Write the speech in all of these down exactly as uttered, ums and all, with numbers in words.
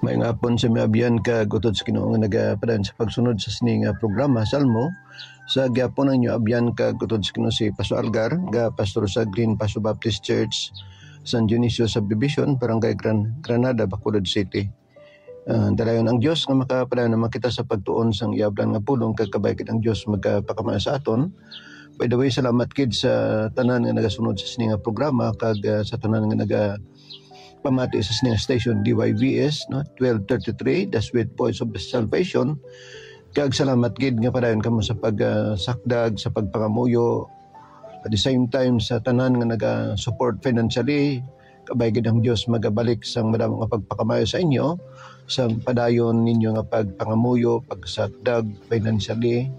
May nga hapon sa mga abyan kag utod sa Ginoo nga nagapadayon sa pagsunod sa sini nga programa, Salmo. Sa gihapon ang inyo abyan kag utod sa Ginoo si Pastor Algar, ga pastor sa Green Paso Baptist Church, San Dionisio Subdivision, Barangay Gran-, Granada, Bacolod City. Ah, darayon ang Dios nga makapadayon naman kita sa pagtuon sang iya ablan nga pulong, kag kabay gid ang Dios magapakamayo sa aton. By the way, salamat gid sa tanan nga nagasunod sa sini nga programa kag, ah, sa tanan nga nagapamati sa sini nga station, D Y V S, no, twelve thirty-three, The Sweet Voice of Salvation. Kag salamat gid nga padayon kamo sa pag, ah, sakdag, sa pagpangamuyo, at the same time sa tanan nga naga-support financially. Kabay gid ang Dios magabalik sang madamo nga pagpakamayo sa inyo, sang padayon ninyo nga pagpangamuyo, pagsakdag financially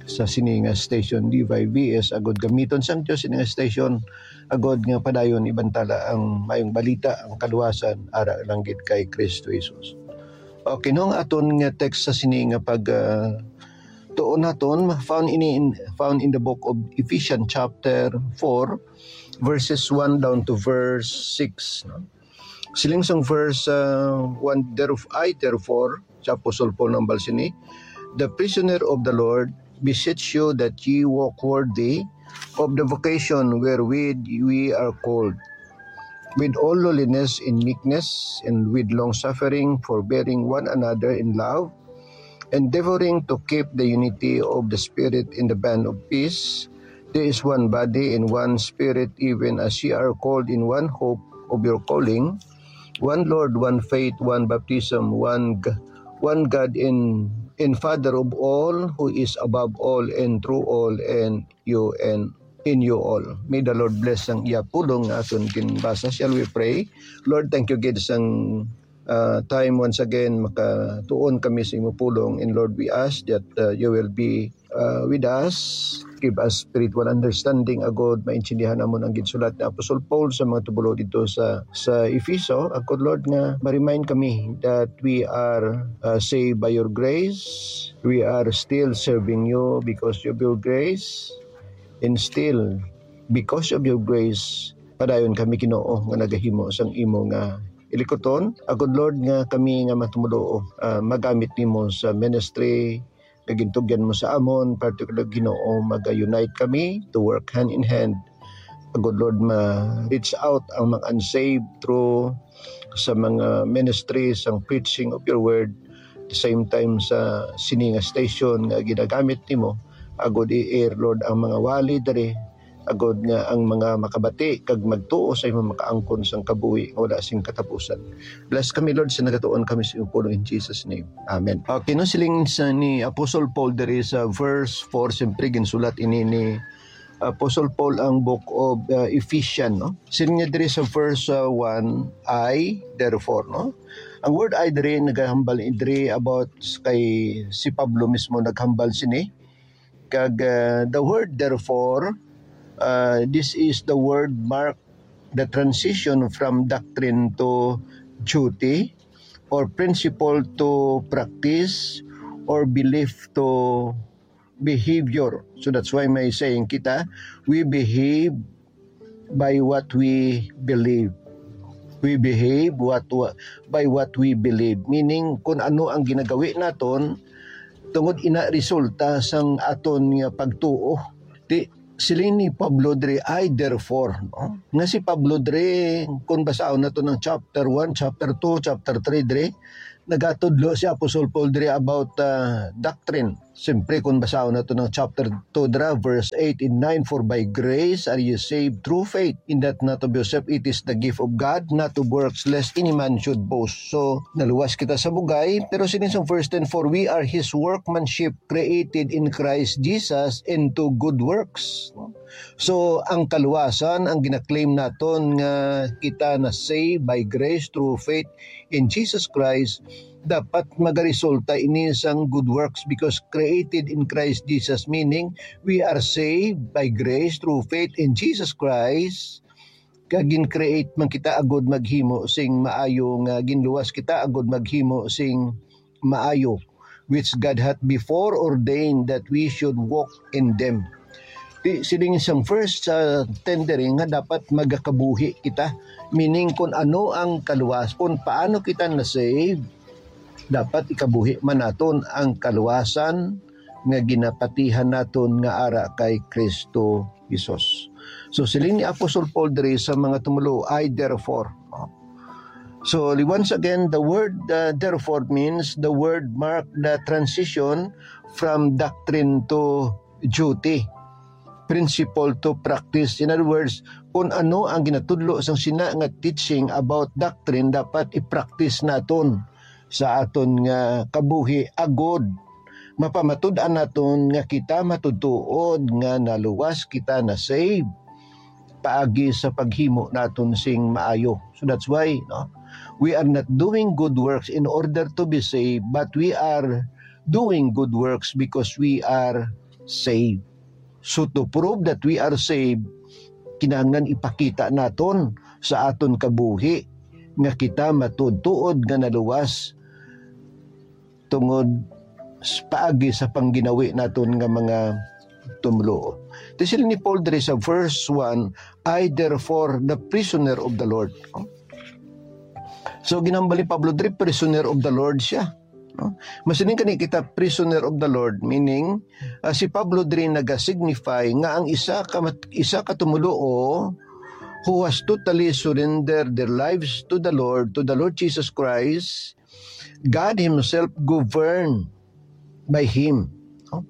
sa sini nga station, D Y V S, agud gamiton sang Dios sini nga station, agud nga padayon ibantala ang mayong balita, ang kaluwasan, ara lang gid kay Kristo Jesus. Okay, no, ang aton nga text sa sini nga pag, ah, tuon naton, found in, in, found in the book of Ephesians chapter four, verses one down to verse six, no? Siling sang verse, uh, one, "Theref-, I, therefore," si Apostle Paul nahambal sini, "the prisoner of the Lord, beseech you that ye walk worthy of the vocation wherewith we are called, with all lowliness and meekness, and with long suffering, forbearing one another in love, endeavoring to keep the unity of the Spirit in the band of peace. There is one body and one Spirit, even as ye are called in one hope of your calling, one Lord, one faith, one baptism, one G-, one God and, and Father of all, who is above all and through all and you and in you all." May the Lord bless ang iya pulong nga aton ginbasa. Shall we pray? Lord, thank you gid sang, uh, time once again makatuon kami sa imo pulong. And Lord, we ask that, uh, you will be, uh, with us. Give us spiritual understanding, agud maintindihan namon ang ginsulat ni Apostol Paul sa mga tubolo dito sa, sa Efeso. Agud, Lord, nga ma-remind kami that we are, uh, saved by your grace. We are still serving you because of your grace. And still, because of your grace, padayon kami, Ginoo, nga nagahimo sang imo nga ilikuton. Agud, Lord, nga kami nga mga tumoluo, ah, magamit nimo sa ministry nga gintugyan mo sa amon, particular, Ginoo, maga-unite kami to work hand in hand. Agud, Lord, ma-reach out ang mga unsaved through sa mga ministry sang preaching of your word. The same time sa sini nga station nga ginagamit nimo, agud i-air, Lord, ang mga wali diri, agud nga ang mga makabati kag magtuo sa imo makaangkon sang kabuhi nga wala sing katapusan. Bless kami, Lord, sa nagatuon kami sa imo pulong in Jesus' name. Amen. Okay, no, siling sa ni Apostle Paul diri sa verse four, siyempre ginsulat ini ni Apostle Paul ang book of, uh, Ephesians, no? Siling niya diri sa verse, uh, one, "I, therefore," no? Ang word "I" diri nagahambal diri about kay si Pablo mismo naghambal sini. Kag, uh, the word "therefore," uh, this is the word mark the transition from doctrine to duty, or principle to practice, or belief to behavior. So that's why may saying kita, "We behave by what we believe." We behave what, wa-, by what we believe. Meaning, kung ano ang ginagawi naton, tungod ina resulta sang aton nga pagtuo. Di, siling ni Pablo diri, "I therefore," no? Nga si Pablo diri, kung basahon nato ng chapter one, chapter two, chapter three diri, nagatudlo si Apostle Paul diri about, ah, doctrine. Siyempre, kung basahon nato ng chapter two dira, verse eight and nine, "For by grace are ye saved through faith, and that not of yourself, it is the gift of God, not of works, lest any man should boast." So, naluwas kita sa bugay, pero sining sa verse ten, "For we are his workmanship, created in Christ Jesus into good works." So, ang kaluwasan, ang ginaklaim naton nga kita na saved by grace through faith in Jesus Christ, dapat magaresulta ini sang good works, because created in Christ Jesus, meaning we are saved by grace through faith in Jesus Christ, kag gin-create man kita agud maghimo sing maayo, nga ginluwas kita agud maghimo sing maayo, which God hath before ordained that we should walk in them. Di, siling sang verse sa ten diri nga dapat magakabuhi kita. Meaning, kung ano ang kaluwas, kung paano kita na-save, dapat ikabuhi man naton ang kaluwasan nga ginapatihan naton nga ara kay Kristo Jesus. So, siling ni Apostol Paul diri sa mga tumulo, "I therefore." So, once again, the word, uh, therefore means the word mark the transition from doctrine to duty, principle to practice. In other words, kung ano ang ginatudlo sang sina nga teaching about doctrine, dapat i-practice naton sa aton nga kabuhi, agod mapamatud-an naton nga kita matutuod nga naluwas kita, na-save, paagi sa paghimo naton sing maayo. So that's why, no, we are not doing good works in order to be saved, but we are doing good works because we are saved. So, to prove that we are saved, kinahanglan ipakita naton sa aton kabuhi nga kita matuod-tuod nga naluwas tungod s-, paagi sa pangginawi naton nga mga tumluo. Ti siling ni Paul diri sa verse one, "I therefore, the prisoner of the Lord." So, ginhambal ni Pablo diri, prisoner of the Lord siya. No? Masiling kani kita, prisoner of the Lord, meaning, ah, si Pablo diri naga-signify nga ang isa ka mat-, isa ka tumuluo who has totally surrendered their lives to the Lord, to the Lord Jesus Christ, God Himself govern by him, no?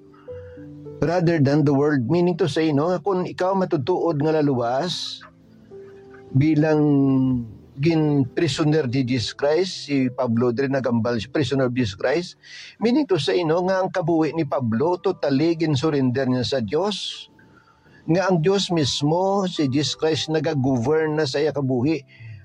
Rather than the world. Meaning to say, no, nga kung ikaw matutuod nga laluwas, bilang gin-prisoner ni Jesus Christ, si Pablo diri nagambal, si prisoner of Jesus Christ. Meaning to say, no, nga ang kabuhi ni Pablo, totally gin-surrender niya sa Dios. Nga ang Dios mismo, si Jesus Christ, nagagovern na sa iya kabuhi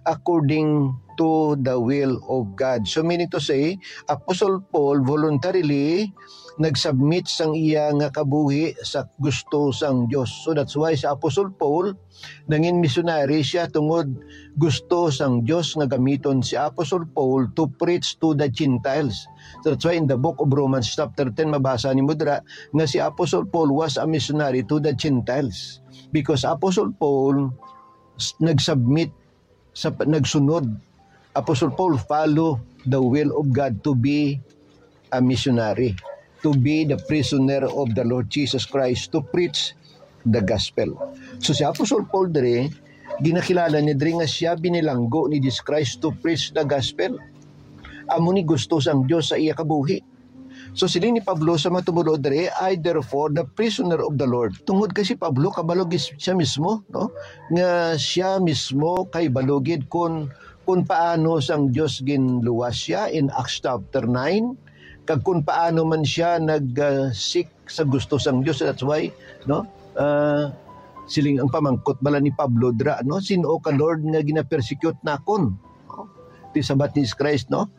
according to the will of God. So, meaning to say, Apostle Paul voluntarily nag-submit sang iya nga kabuhi sa gusto sang Dios. So, that's why sa Apostle Paul, nangin misyonary siya tungod gusto sang Dios nga gamiton si Apostle Paul to preach to the Gentiles. So, that's why in the book of Romans chapter ten, mabasa nimo dira nga si Apostle Paul was a missionary to the Gentiles, because Apostle Paul s-, nag-submit sa p-, nagsunod. Apostle Paul follow the will of God to be a missionary, to be the prisoner of the Lord Jesus Christ, to preach the gospel. So, si Apostle Paul diri, ginakilala niya diri nga siya binilanggo ni Jesus Christ to preach the gospel. Amo ni gusto sang Dios sa iya kabuhi. So, siling ni Pablo sa mga tumuluo diri, "I therefore, the prisoner of the Lord." Tungod kay si Pablo, kabalo gid siya mismo, no? Nga siya mismo kay balugid kun, kun paano sang Dios ginluwas siya in Acts chapter nine, kag kun paano man siya nag, ah, seek sa gusto sang Dios. That's why, no? Ah, siling ang pamangkot bala ni Pablo dira, no? "Sin-o ka, Lord, nga gina-persecute nakon?" No? Ti sabat ni Jesus Christ, no?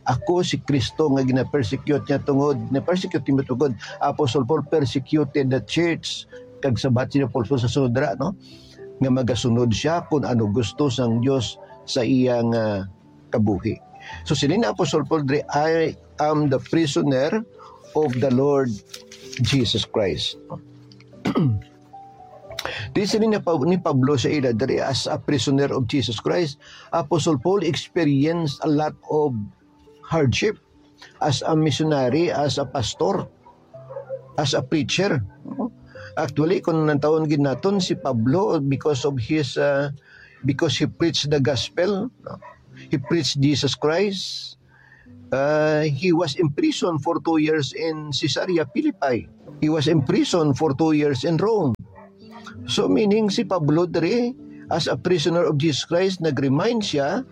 "Ako si Cristo nga gina-persecute niya tungod, na-persecute niya tungod." Apostle Paul persecuted the church, kag sabat ni Apostle sa sudra, no? Nga magasunod siya kung ano gusto sang Dios sa iya nga kabuhi. So, siling ni Apostle Paul diri, "I am the prisoner of the Lord Jesus Christ." Di siling ni Pa-, ni Pablo sa ila diri, as a prisoner of Jesus Christ, Apostle Paul experienced a lot of hardship as a missionary, as a pastor, as a preacher. Actually, kung nantawon gid naton si Pablo, because of his, uh, because he preached the gospel, no? He preached Jesus Christ. Uh, he was imprisoned for two years in Caesarea Philippi. He was imprisoned for two years in Rome. So, meaning, si Pablo diri, as a prisoner of Jesus Christ, nag-remind siya,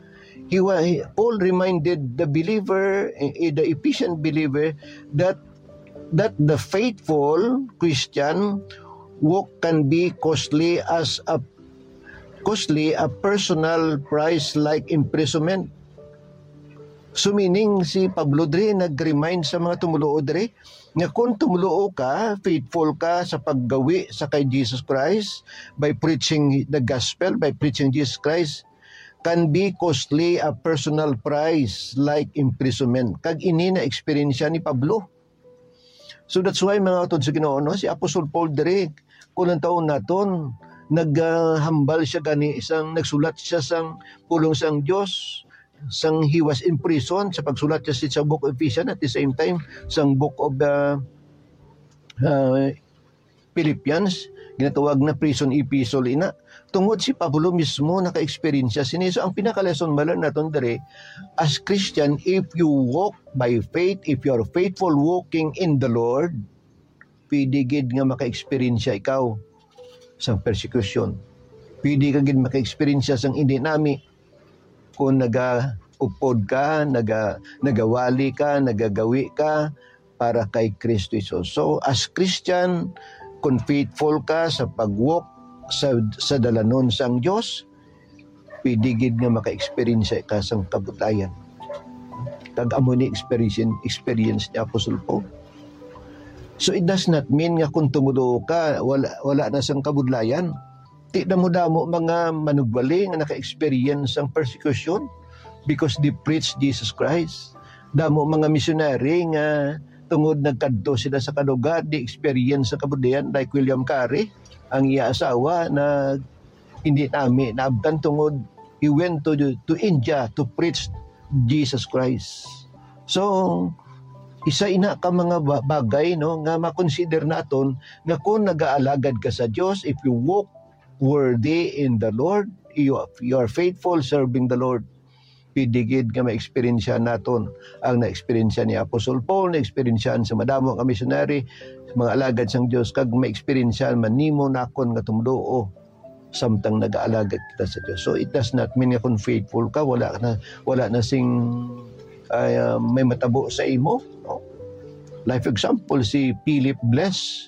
he wa-, he, Paul reminded the believer, eh, eh, the Ephesian believer, that, that the faithful Christian walk can be costly as a, costly a personal price like imprisonment. So, meaning, si Pablo diri nag-remind sa mga tumuluo diri nga kung tumuluo ka, faithful ka sa paggawi sa kay Jesus Christ by preaching the gospel, by preaching Jesus Christ, can be costly a personal price like imprisonment. Kag ini na eksperyensya ni Pablo. So that's why, mga utod sa Ginoo, no, si Apostol Paul diri, Kung ang taon naton, naghambal siya gani sang, nagsulat siya sang pulong sang Dios, sang he was in prison, sa pagsulat siya sa Book of Ephesians, at the same time, sang Book of, uh, uh, Philippians, ginatawag na prison epistle ina. Tungod si Pablo mismo naka-eksperyensya sini. So, ang pinaka-lesson ma-learn naton diri, as Christian, if you walk by faith, if you are faithful walking in the Lord, pwede gid nga maka-eksperyensya ikaw sang persecution. Pwede ka gid maka-eksperyensya sang indi nami. Kung nagaupod ka, naga-, nagawali ka, nagagawi ka para kay Kristo Jesus. So, as Christian, kung faithful ka sa pag-walk sa, sa dalanon sang Dios, pwede gid nga maka-experience ka sang kabudlayan. Kag amo ni experience, experience ni Apostle Paul. So, it does not mean nga kung tumulo ka, wala, wala na sang kabudlayan. Ti damo-damo mga manugwali nga naka-experience sang persecution because they preach Jesus Christ. Damo mga missionary nga tungod nagkadto sila sa kalugar, they experience sa kabudlayan, like William Carey, ang iya asawa na hindi nami naabtan tungod he went to, to India to preach Jesus Christ. So, isa ina ka mga ba-, bagay, no, nga makonsider naton nga kung nagaalagad ka sa Dios, if you walk worthy in the Lord, you, you are faithful serving the Lord, pwede gid nga ma-experience naton ang na-experience ni Apostol Paul, na-experience sa madamo nga missionary, mga alagad sang Dios, kag ma-experience man nimo nakon nga tumulo samtang nagaalagad kita sa Dios. So, it does not mean nga kung faithful ka, wala na, wala na sing, ay, ah, may matabo sa imo, no? Life example, si Philip Bless,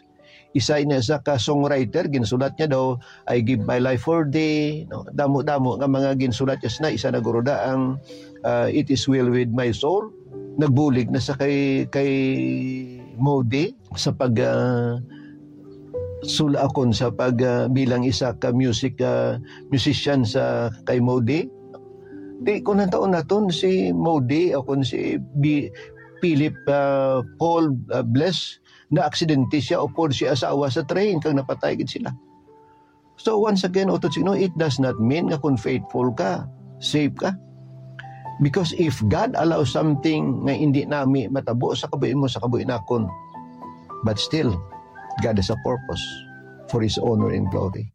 isa na sa ka songwriter, ginsulat niya daw, "I give my life for thee," no? Damo-damo nga mga ginsulat niya, na isa na guro da ang, ah, "It is well with my soul." Nagbulig na sa kay, kay Moody sa pag, ah, sula akon sa pag, ah, bilang isa ka music, ah, musician sa kay Moody. Di ko nataon naton si Moody o kung si Bi-, Philip, ah, Paul, ah, Bless, na aksidente siya upod si asawa sa train kag napatay gid sila. So once again, utod sa Ginoo, it does not mean nga kung faithful ka, safe ka. Because if God allows something nga hindi nami matabo sa kabuhi mo, sa kabuhi nakon, but still, God has a purpose for His honor and glory.